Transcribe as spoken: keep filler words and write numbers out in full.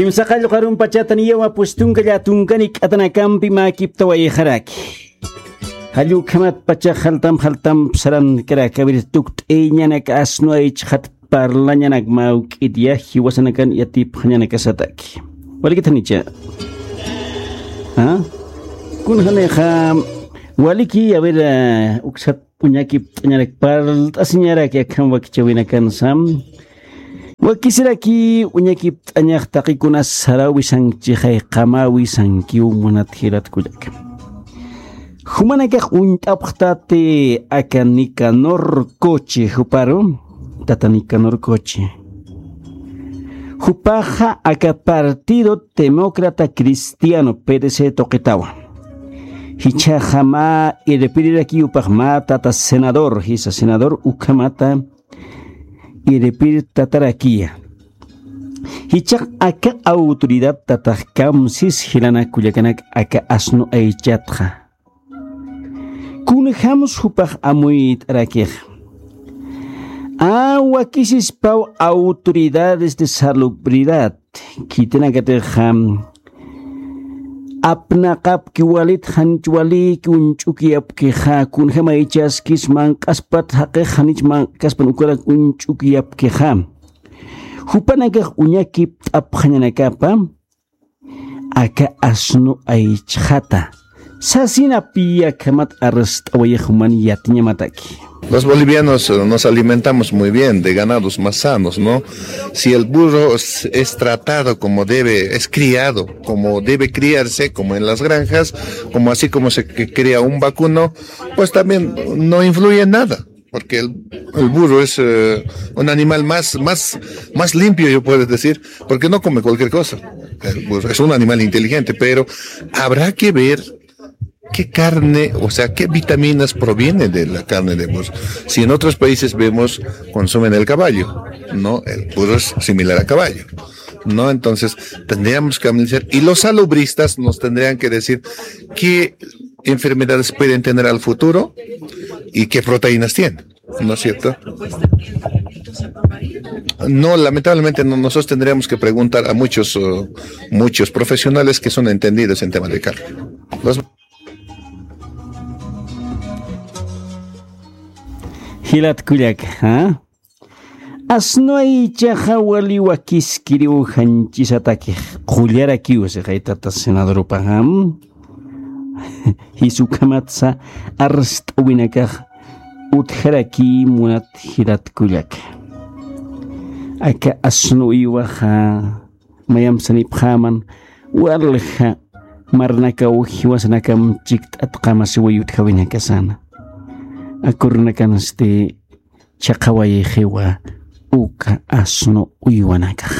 Imsaqallqarumpachatan yawa pustunka llätunkani k'atanakampi mäkiptawayxaraki. Jallukhamat pacha jaltam jaltamp sarankaraki, a ver, tukt'ayañanak asnu aychxat parlañanak mawk'it ya jiwasanakan yatipxañanakasataki. Walikitanicha. ¿Ah? Kunjanixa waliki, a ver, eh, uksat uñakipt'añarak parlt'asiñaraki akham wakichawinakansa. Wakisiraki uñakipt'añax taqikunas sarawisankchixay qamawisankiw munat jilat kullaka. Jumanakax uñt'apxtati aka Nicanor Coche juparu, tata Nicanor Coche. Jupaxa aka Partido Demócrata Cristiano, P D C tuqitawa. Jichhaxa mä irpirirakiw jupax mä tata senador, jisa senador ukhamata irpirtatarakiya. Jichhax aka autoridad tatax kamsis jilanak kullakanak aka asnu aychatxa. Kunjams jupax amuyt'arakix. A wakisispaw autoridades de salubridad khitinakatixa apnaqapki walit, janich waliki uñch'ukiyapkixa, kunjam aychaskis manq'aspat jaqix janich manq'kaspan ukarak uñch'ukiyapkixa. Jupanakax uñakipt'apxañanakapa aka asnu aychxata. Sasinapi akhamat arst'awayix juman yatiñamataki. Los bolivianos, eh, nos alimentamos muy bien de ganados más sanos, ¿no? Si el burro es, es tratado como debe, es criado como debe criarse, como en las granjas, como así como se cría un vacuno, pues también no influye nada. Porque el, el burro es, eh, un animal más, más, más limpio, yo puedo decir, porque no come cualquier cosa. El burro es un animal inteligente, pero habrá que ver qué carne, o sea, qué vitaminas proviene de la carne de burro. Si en otros países vemos, consumen el caballo, ¿no? El burro es similar a caballo, ¿no? Entonces, tendríamos que analizar, y los salubristas nos tendrían que decir qué enfermedades pueden tener al futuro y qué proteínas tienen, ¿no es cierto? No, lamentablemente no, nosotros tendríamos que preguntar a muchos, uh, muchos profesionales que son entendidos en tema de carne. Los Jilat kullaka, ¿ah? Asnu aychaxa wali wakiskiriw janchisataki qullarakiw sixay tata senadorupaxa. Jisa ukhamatsa arst'awinakax utjaraki munat jilat kullaka. Aka asnu uywaxa mayamp sanipxäman walja marnakaw jiwasanakam chikt'at qamasiway utjawinakasana. Akurnakansti chhaqhawayxiwa uka asnu uywanakax.